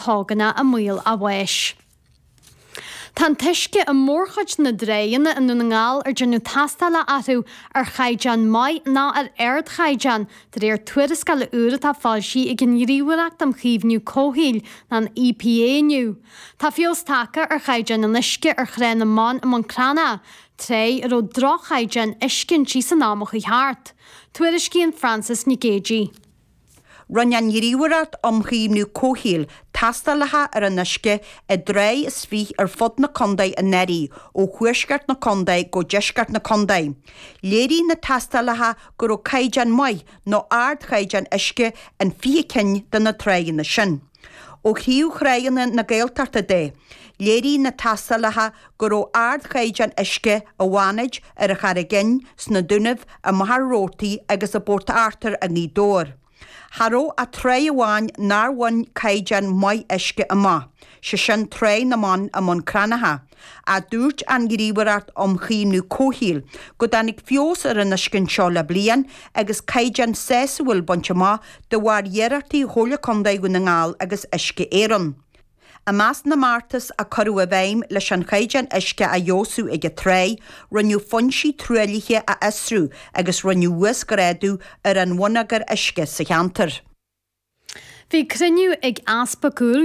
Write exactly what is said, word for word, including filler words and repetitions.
Thóganna i mbaol a bháis. Tá an t-uisce i mórchuid na dtránna i nDún na nGall ar déanadh tástáil orthu ar chaighdeán maith nó ar ardchaighdeán, de réir tuarascála úr atá foilsithe ag an nGníomhaireacht um Chaomhnú Comhshaoil an EPA inniu. Tá feabhas tagtha ar chaighdeán an uisce ar Thrá na mBan i mBun Cranncha, trá a raibh droch-chaighdeán uisce inti san am a chuaigh thart. Tuairiscíonn Frances Nic Géadaigh. Rinne an Ghníomhaireacht um Chaomhnú Comhshaoil tástálacha ar an uisce i dtrá is fiche ar fud na contae anuraidh ó thuaisceart na contae go deisceart na contae. Léirigh na tástálacha go raibh caighdeán maith nó ardchaighdeán uisce in fiche cinn de na tránna sin. Ó thaobh thránna na Gaeltachta de, léirigh na tástálacha go raibh ardchaighdeán uisce i bhFánaid, ar an Charraig Fhinn, sna Dúnaibh, i Machaire Rabhartaigh agus i bPort Arthur i nGaoth Dobhair. Cha raibh ach trá amháin nár bhain caighdeán maith uisce amach, sé sin Trá na mBan i mBun Cranncha, ach dúirt an Ghníomhaireacht um Chaomhnú Comhshaoil go dtáinig feabhas ar an uisce anseo le bliain agus caighdeán sásúil bainte amach de bharr iarrachtaí Chomhairle Contae Dhún na nGall agus Uisce Éireann. I measc na mbeartas a cuireadh i bhfeidhm leis an chaighdeán uisce a fheabhsú ag an trá, rinneadh foinsí truaillithe a fhiosrú agus rinneadh uasghrádú ar an bhonneagar uisce sa cheantar. Bhí cruinniú ag Easpag